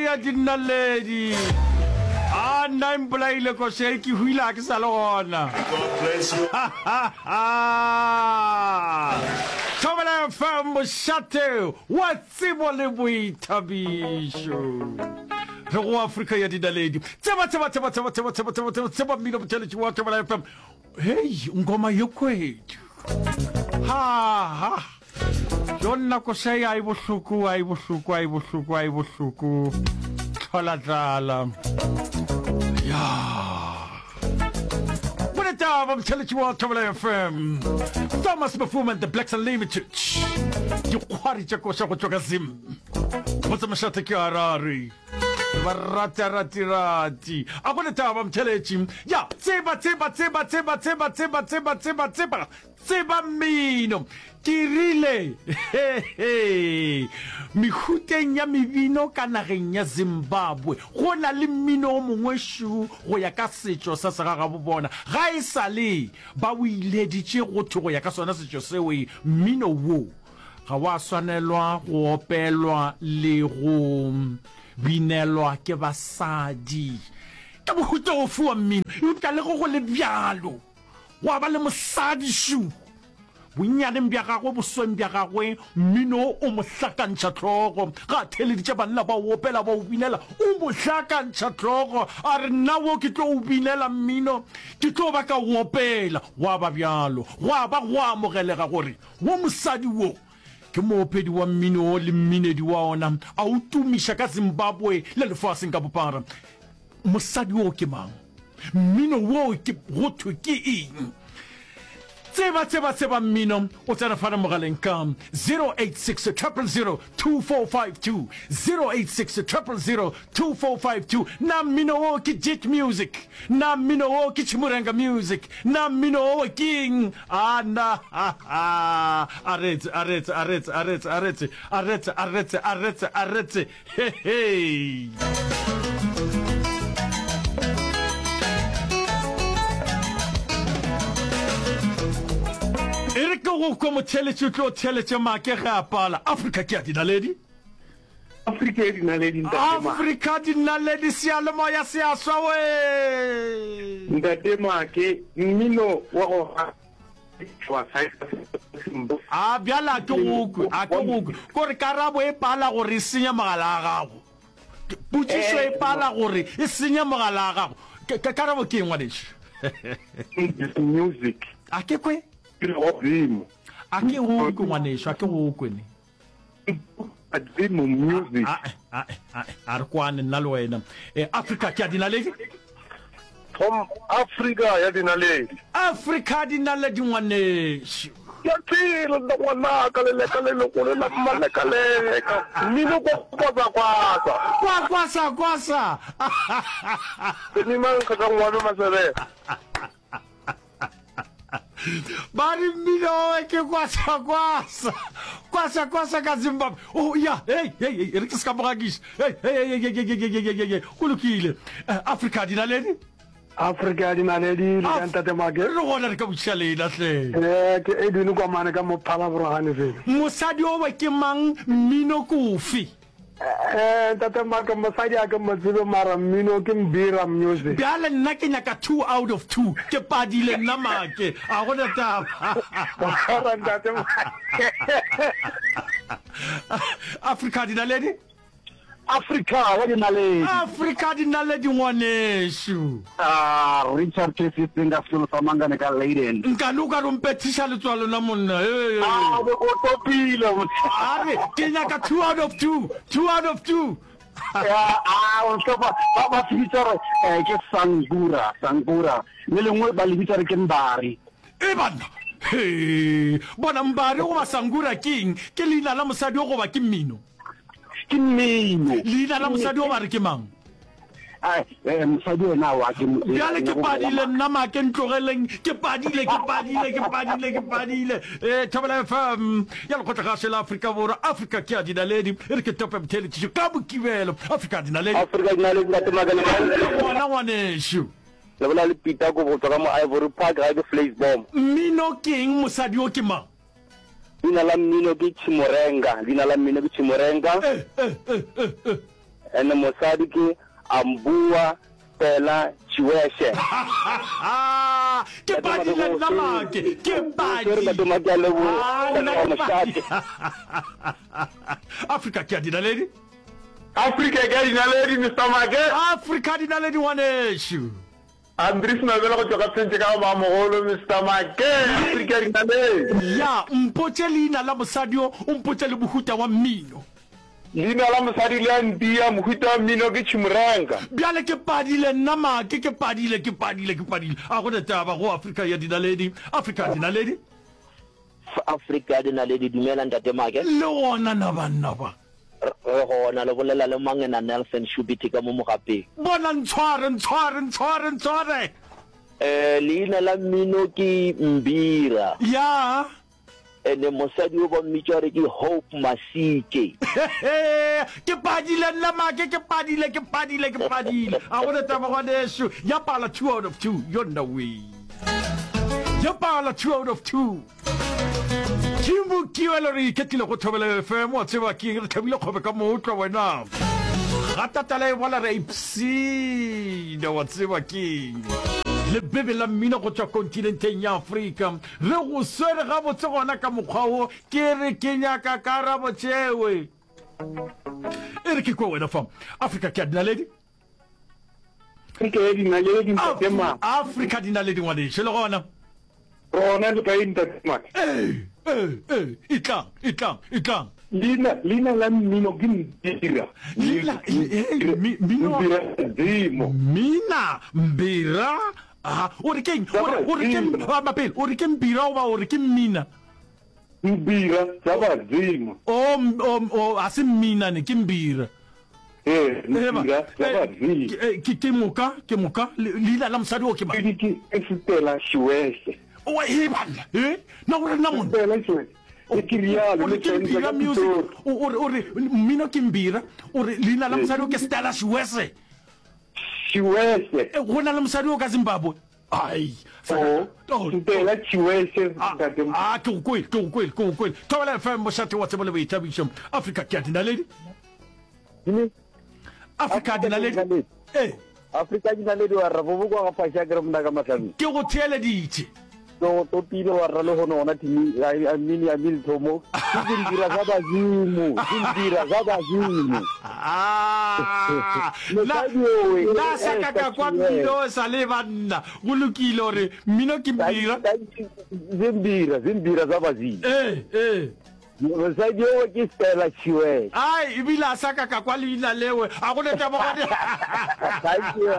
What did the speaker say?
ya dinaledi. A nna e mpolaile koša e ke hwile a ke sa le gona. Thobela FM mošate wa tsebo le boithabišo. Re go Afrika ya dinaledi. Tseba tseba tseba tseba tseba tseba tseba tseba tseba mmino motheletši wa Thobela FM. Hei, ngoma ye kwedu. Ha ha. Jo nna koša e a e bohloko, a e bohloko, a e bohloko, a e bohloko. Tlhola tlala. Ya. Bone taba motheletši wa Thobela FM. Thomas Mafuma and the Blacks Unlimited. Dikgwari tša koša go tšwa ka Zim. Motse mošate ke Harare. Ba rata rati rati. A go letaba motheletši. Ya, tseba tseba tseba tseba tseba tseba tseba tseba tseba tseba mmino. Ke rile he he. Mehuteng ya mebino ka nageng ya Zimbabwe go na le mmino o mongwe šu go ya ka setšo sa segagabo bona. Ga e sa le ba o ileditše go thwe go ya ka sona setšo seo mmino wo Ga wa swanelwa go opelwa le go binelwa ke basadi. Ke mohuta ofe wa mmino? Eupša le ge go le bjalo, gwa ba le mosadi šo. Bonnyaneng bja gagwe, bosweng bja gagwe, mmino o mo hlakantšha hlogo. Ga a theeleditše banna ba o opela, ba o binela, o mo hlakantšha hlogo. A re, Nna wo ke tlo o binela mmino, ke tlo ba ka o opela. Gwa ba bjalo. Gwa ba gwa amogelega gore Wo mosadi wo ke moopedi wa mmino le mminedi wa ona, a o tumiša ka Zimbabwe le lefaseng ka bophara. Mosadi wo ke mang? Mmino wo ke go thwe ke eng? Tseba, tseba, tseba mmino o tsena fana mogaleng ka 086 000 2452, 086 000 2452. Na mmino wo ke Jit Music? Na mmino wo ke Chimurenga Music? Na mmino wo ke eng? A na ha ha a retse a retse a retse a retse a retse a retse a retse a retse a retse he he. E re ke go kwe motheeletši o tlo theeletše make ge a pala. Afrika ke ya dinaledi. Afrika ya dinaledi ntate Make. Afrika dinaledi seyalemoya se a swa wee. Ntate Make mmino wa go wa A bjale a ke go kwe, a ke go kwe. Kore karabo e pala gore e senye mogala wa gago. Potšišo e pala gore e senye mogala wa gago. Karabo ke eng ngwanešu? Music. A ke kwe. Godimo. A ke go kwe ngwanešu, a ke go kwe ne. Badimo music. A a a a re kwane nna le wena. Eh, Africa ke ya dinaledi. From Africa ya dinaledi. Africa dinaledi ngwanešu. Ke a phela nna ngwanaka leleka le legolo la mmalekaleka mmino kwa kwasa kwasa. Kwa kwasa kwasa. Senimang kgaka ngwane masebela. Ba re mmino owe ke kwasa kwasa. Kwasa kwasa ka Zimbabwe. Oh ya, hey hey hey, re ke se ka mogakiša. Hey hey hey hey hey hey hey hey hey. Go lokile. Eh, Afrika dinaledi. Afrika ya dinaledi le ka ntate Make. Re gona re ka botšiša lena hle. Eh, ke Edwin Kwamane ka mo Phalaborwa Ganefelo. Mosadi owe ke mang, mmino ke ofe? Eh, ntate Make, mosadi a ke mo tsebe mara mmino ke Mbira Music. Bjale nna ke nyaka 2 out of 2, ke padile nna Make, a gona taba. Ora ntate Make. Afrika dinaledi? Afrika ya dinaledi. Afrika dinaledi ngwanešu. Ah, Richard KC Singa sekolo sa Mangane ka Leyden. Nkane o ka re o mpethiša letswalo na monna. Hey. Ah, o topile. A re ke nyaka 2 out of 2, 2 out of 2. Ya, ah, o hlopa ba ba se bitsa re eh, ke Sangura, Sangura. Le lengwe ba le bitsa re ke Mbari. E banna. He, bona Mbari goba Sangura ke eng? Ke leina la mosadi o goba ke mmino? Ke mmino. Leina la mosadi o ba re ke mang? Eh, mosadi ena wa ke mo Bjale ke padile nna make ntlogeleng ke padile ke padile ke padile ke padile eh Thobela FM ya lekgotlagašo la Afrika Borwa Afrika ke ya dinaledi e re ke tope motheeletšišo ka Mokibelo Afrika ya dinaledi Afrika dinaledi ntate Makele gona ngwanešu Le bolela le Peter Kobo go tšwa ka mo Ivory Park gae ke Vleisboom. Mmino ke eng mosadi o ke mang? Leina la mmino ke Chimurenga. Leina la mmino ke Chimurenga. Eh, eh, eh, eh, eh. Ene mosadi ke Ambua Stella Chiweshe. Ke padile nna make, ke padi. Ntate Make a leboha. Ah, nna ke padi. Afrika ke a dinaledi. Afrika ke a dinaledi Mister Make. Afrika dinaledi ngwanešu. Andries Mabele go tšwa ka Phentše ka go Mamogolo Mister Make. Afrika dinaledi. Ya, mpotše leina la mosadi yo, o mpotše le mohuta wa mmino. Leina la mosadi le a ntia, mohuta wa mmino ke Chimurenga. Bjale ke padile nna Make, ke padile, ke padile, ke padile. A go ne taba go Afrika ya dinaledi, Afrika ya dinaledi. Afrika ya dinaledi, dumela Ntate Make. Le gona na banna ba? Re gona, le bolela le Mangena Nelson Shubiti ka mo Mogapeng. Bona, ntshware, ntshware, ntshware, ntshware. Eh, leina la mmino ke Mbira. Ya. Ene mosadi o ba mmitša gore ke Hope Masike. Ke padile nna make, ke padile, ke padile, ke padile. A go ne taba ngwanešu. Ya pala 2 out of 2. Yo nna wee. Ya pala 2 out of 2. Ke mokiwelo re iketlile go Thobela FM wa tseba ke re tlhabile kgobe ka mootlwa wena. Ga tatala e bola re a ipsina wa tseba keng. Lebebe la mmino go tšwa kontinenteng ya Afrika. Re go swere gabotse gona ka mokgwa wo, ke re ke nyaka karabo tšewe. E re ke kwe wena fa. Afrika ke ya dinaledi. Afrika ya dinaledi ntate ma. Afrika dinaledi ngwanešu le gona. Rona le kae ntate ma? Ee, ee, ee, etlang, etlang, etlang. Leina, leina la mmino ke Mbira. Leina, ee, mmino. Mbira Dimo. Mina, Mbira. A o re keng? O re, o re ke, mapele, o re ke Mbira goba o re ke Mmina? Mbira tša badimo. O, o, o, ga se Mmina ne, ke Mbira. Ee, Mbira tša badimo. Ke, ke moka, ke moka, leina la mosadi o ke mang? Ke Stella Shiwese. O, e banna, e, na o re nna monna? Stella Shiwese. E ke rialo, O re ke Mbira music, o re, o re, mmino ke Mbira, o re leina la mosadi o ke Stella Shiwese. Chiwese. E, go na le mosadi o ka Zimbabwe. Ai. Oh, oh, Ntela Chiwese ah, ntate. Ah, ke go kwele, ke go kwele, ke go kwele. Thobela FM mošate wa tsebo le boithabišo. Afrika ke a dinaledi. Afrika a dinaledi. Eh. Afrika dinaledi wa rra bobo kwa ga phasha ke re mna ka mahlabeng. Ke go theeleditše. Ke go topile wa rra le gono gona thimi a mini a mini thomo. Ke dintira za badimo, dintira za badimo. Ah, na na sa ka ka kwa mmino sa le banna. Go lokile gore mmino ke mbira. Zimbira, zimbira za badimo. Eh, eh. Mosadi yo ke Stella Chiwele. Ai, ebile a sa ka ka kwa leina lewe. A go ne taba gone. Thank you.